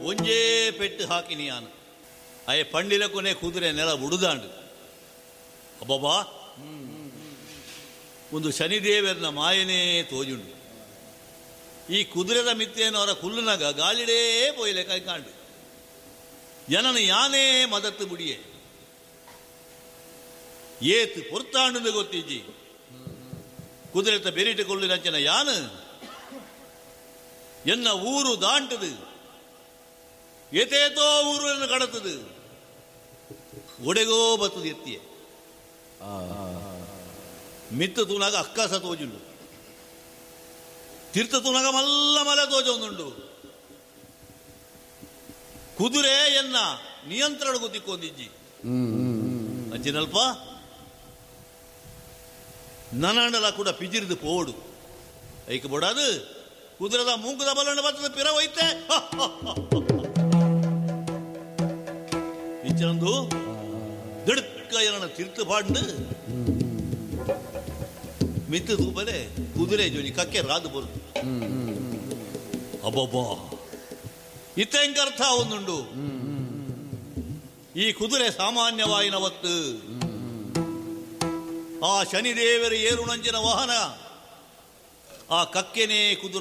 ಒಂಜೇ ಪೆಟ್ಟು ಹಾಕಿನಿಯಾನ ಅಯ್ಯ ಪಂಡಿಲ ಕೊನೆ ಕುದುರೆ ನೆಲ ಬುಡುದಾಂಡು. ಅಬ್ಬಬ್ಬಾ, ಒಂದು ಶನಿದೇವರನ ಮಾಯನೇ ತೋಜುಂಡು. ಈ ಕುದುರೆದ ಮಿತ್ತೇನವರ ಕುಲ್ಲುನಗ ಗಾಳಿಡೇ ಪೋಯಿಲೆ ಕೈಕಾಂಡು ಜನನ ಯಾನೇ ಮದತ್ತು ಬುಡಿಯೆ ಏತ್ ಪೊರ್ತಾಂಡು ಗೊತ್ತಿಜ್ಜಿ. ಕುದುರೆತ ಬೆರಿಟ ಕೊಲ್ಲಿನಂಚಿನ ಯಾನು ಎನ್ನ ಊರು ದಾಂಟದು ಏತೇತೋ ಊರನ್ನು ಕಡತದು ಒಡೆಗೋ ಬತ್ತದು ಎತ್ತಿಯೆ ಮಿತ್ತ ತೂನಾಗ ಅಕ್ಕಾಸ ತೋಜುಂಡು, ತೀರ್ಥ ತೂನಾಗ ಮಲ್ಲ ಮಲೆ ತೋಜೊಂದುಂಡು. ಕುದುರೆ ಎನ್ನ ನಿಯಂತ್ರಣ ಗೊತ್ತಿಕ್ಕೊಂದಿಜ್ಜಿ ಅಂಚಿನಲ್ಪ ನನಂಡಲ ಕೂಡ ಪಿಜಿರಿದು ಪೋಡು ಐಕ್ ಬೋಡಾದು ಕುದುರೆದ ಮೂಂಕುದ ಬಲಣ್ಣ ಬರ್ತದ ಪಿರ ಹೋಯ್ತೆ ಇಂಚನಂದು ದಿಡುಕ್ಕ ಏನನ್ನ ತೀರ್ಥ ಪಾಂಡು ಮಿತ್ತು ತೂಪಲೆ ಕುದುರೆ ಜೋನಿ ಕಕ್ಕೆ ರಾದು ಬರುದು. ಅಬ್ಬಬ್ಬಾ, ಇತ್ತೆಂಕರ್ಥ ಒಂದುಂಡು. ಈ ಕುದುರೆ ಸಾಮಾನ್ಯವಾಯಿನವತ್ತು ಆ ಶನಿದೇವರ ಏರುಣಂಚಿನ ವಾಹನ ಆ ಕಕ್ಕೆನೇ ಕುದುರ